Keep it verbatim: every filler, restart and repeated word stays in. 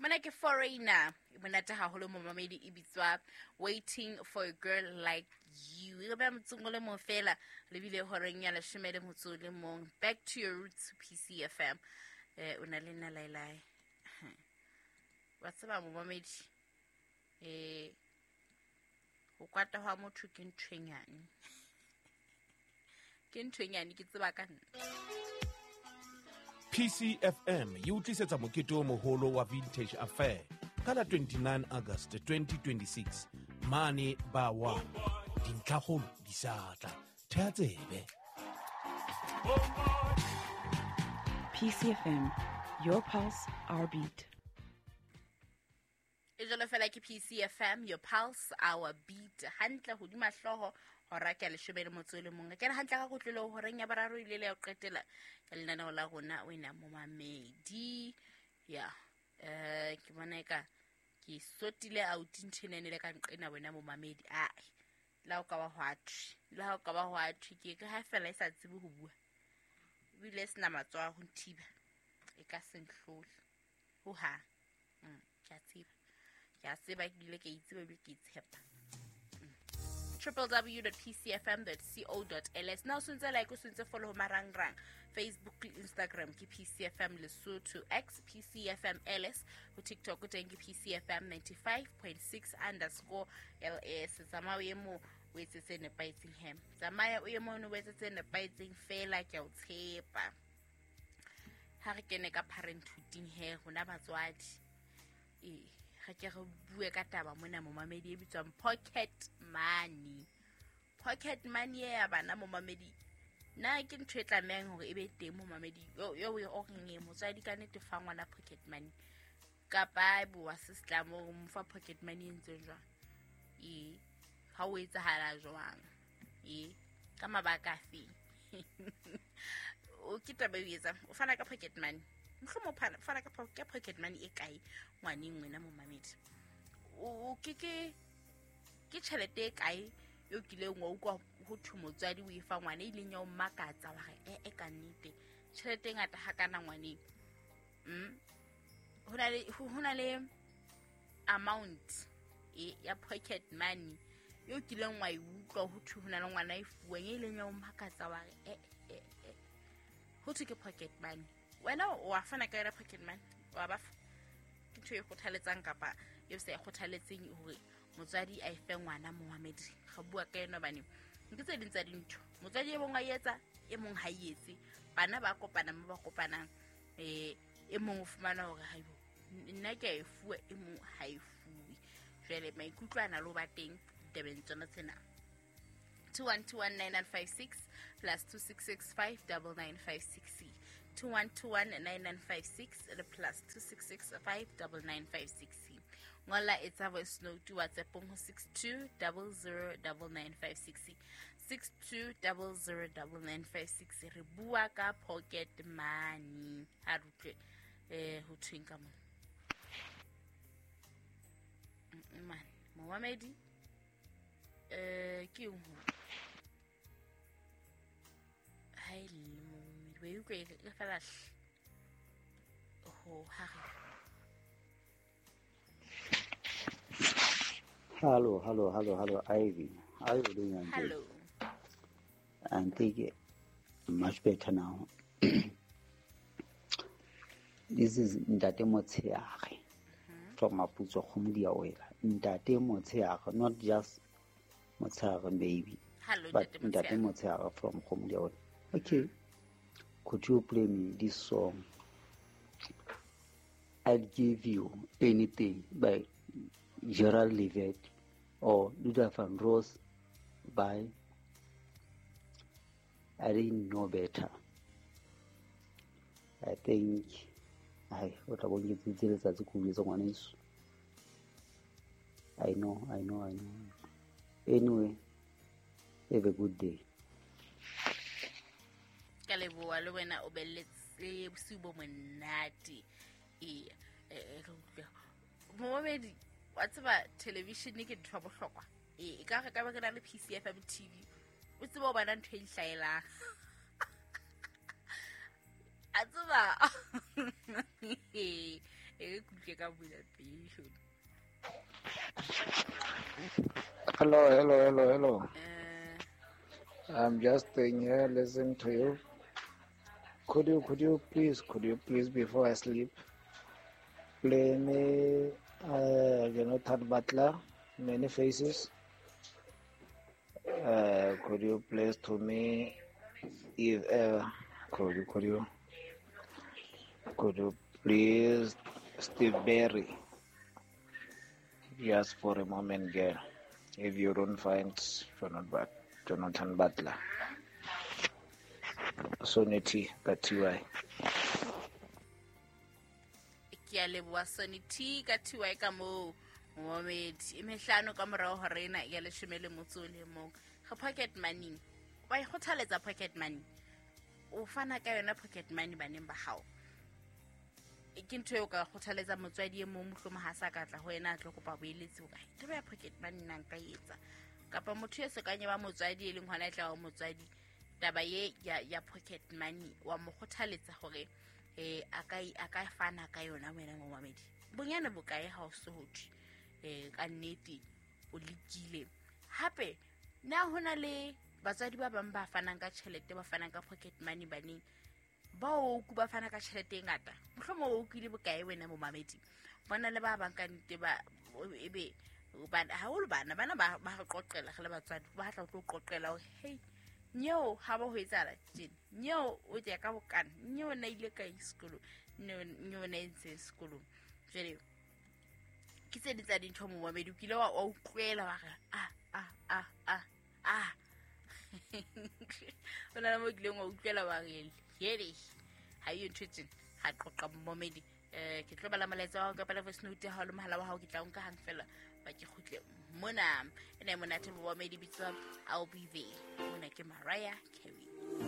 Mona ke foreigner e monate haholo momamedi e bitswa Waiting for a Girl Like You. E re beha motsong o le mong fela lebile horeng ya leshome le motso o le mong. Back to your roots, P C F M. Eh, o na le nna laelae. Wa tseba momamedi, eh, ho kwata hwa motho ke ntho e nyane. Ke ntho e nyane, ke tseba ka nna. P C F M e o tlisetsa mokete o moholo wa Vintage Affair ka la twenty-nine August twenty twenty-six mane ba wa dintlhakgolo di sa tla. Theha tsebe. P C F M, your pulse, our beat. E jwalo fela ke P C F M, your pulse, our beat. Hantle hodima hlooho hora ke leshome le motso le mong. Ke re hantle ka kotlolo horeng ya boraro ile le ya ho qetela ya lenaneo la rona wena momamedi. Ya, eh, ke bona eka ke sotile out nthenene le ka nqena wena momamedi. Ai, la o ka ba hwa thwe, la o ka ba hwa thwe ke ke ha fela e sa tsebe ho bua. Ebile e sena matsoho a ho nthiba. E ka se nhlole. Ho ha. Mm, ke a tseba. Ke a tseba ke bile ke itseba ebile ke itshepa. w w w dot p c f m dot co dot l s. Now o ntse like, o ntse follow marangrang Facebook le Instagram ke P C F M Lesotho, X P C F M L S, ho TikTok o teng ke P C F M ninety-five point six underscore L S. Tsamaya o ye moo o etse tse nepahetseng he. Tsamaya o ye moo o etse tse nepahetseng fela, ke a o tshepa. Ha re kene ka parenthood he, rona batswadi. Eh, re ke re bue ka taba mona momamedi e bitswang pocket money. Pocket money ya bana momamedi. Na ke ntho e tlamehang hore e be teng momamedi. Yo yo o reng e motswadi ka nnete fa ngwana pocket money. Kapa bo wa se setlamo o mo fa pocket money e ntse jwang? E ha o etsahala jwang? E ka mabaka afe? O ke taba e etsang? O fana ka pocket money. Mohlomong o fana ka pocket money e kae ngwaneng wena momamedi? O ke ke ke tjhelete e kae eo kileng wa utlwa ho thwe motswadi o e fa ngwana e ileng ya o makatsa wa re e e ka nnete tjhelete e ngata hakana ngwaneng? Mm. Ho na le ho na le amount e ya pocket money eo kileng wa e utlwa ho thwe ho na le ngwana e fuweng e ileng ya o makatsa wa re e e e ho thwe ke pocket money. Wena o a fana ka yona pocket money, wa ba ke ntho e kgothaletsang kapa e sa e kgothaletseng hore motswadi a e fe ngwana momamedi. Re bua ka yona hobane ke tse ding tsa dintho motswadi e mong a etsa, e mong ha e etse. Bana ba kopana mo ba kopanang, eh e mong o fumana hore haibo nna ke a e fuwe, e mong ha e fuwe. Jwale maikutlo ana lo ba teng ditabeng tsona tsena. two one two one nine nine five six plus two six six five nine nine five six. two one two one nine nine five six le plus two six six five nine nine five six. Ngola etsa voice note WhatsApp ho six two zero zero nine nine five six. six two zero zero nine nine five six. Re bua ka pocket money. Ha re utlwe eh ho thweng ka mona. Man, momamedi eh ke eng ho? Hai le momamedi, wa utlwa e fela ho ha re. Hello, hello, hello, hello, Ivy. How are you doing? Hello. I think much better now. This is Ntate Motsheare from Maputso Kgomo Wela. Ntate Motsheare, not just Motsheare baby. Hello, but Ntate Motsheare from Kgomo Wela. Okay. Could you play me this song? I'll Give You Anything by Gerald Levitt or Luther Vandross by I Didn't Know Better. I think I what I want to tell I know, I know, I know. Anyway, have a good day. Ka leboha le wena o be le bosiu bo monate. E momamedi wa tseba television ke ntho ya bohlokwa. E ka re ka ba ke na le P C F M T V o tseba o bona ntho e nhlaelang. A tseba e ke utlwe ka bula pele. Hello, hello, hello, hello. Uh, I'm just staying here listening to you. Could you, could you please, could you please, before I sleep, play me, uh, you know, Jonathan Butler, Many Faces. Uh, could you play to me, if ever, could you, could you, could you please, Steve Berry, just for a moment, girl, if you don't find Jonathan Butler. Sonny T, ka T Y. Ke a leboha Sonny T ka T Y ka moo momamedi. E mehlano ka morao hora ena ya leshome le motso o le mong. Re pocket money. Wa e kgothaletsa pocket money. O fana ka yona pocket money baneng ba hao. E ke ntho eo ka kgothaletsa motswadi e mong mohlomong ha sa ka tla ho yena a tlo kopa boeletsi hore taba ya pocket money nna nka e etsa. Kapa motho e sokanye ba motswadi e leng hona e tla ba motswadi taba ye ya ya pocket money wa mo kgothaletsa hore eh a ka a ka fana ka yona wena momamedi. Bonyane bokae ha o so ho thwe eh ka nnete o lekile. Hape na hona le batswadi ba bang ba fanang ka tjhelete, ba fanang ka pocket money baneng ba o ku ba fana ka tjhelete e ngata. Mohlomong o utlwile bokae wena momamedi. Bona le ba bang ka nnete ba ebe bana haholo bana bana ba ba re qoqela re le batswadi ba tla tlo qoqela hore hey nyeo ha ba ho etsahala tjena, nyeo o tla ka bokana, nyeo na ile kae sekolong, nyeo nyeo na entse sekolong. Jwale ke tse ding tsa dintho momamedi o kile wa utlwela wa re ah ah ah ah ah o na le mo kileng wa utlwela wa re hele ha iyo ntho tjena ha qoqa momamedi. Eh ke tlo bala molaetsa wa hao kapa le voice note ya hao le mohala wa hao ke tla o nka hang fela ba ke kgutle mona. Ene monate momamedi bitswa I'll Be There. Mona ke Mariah Carey.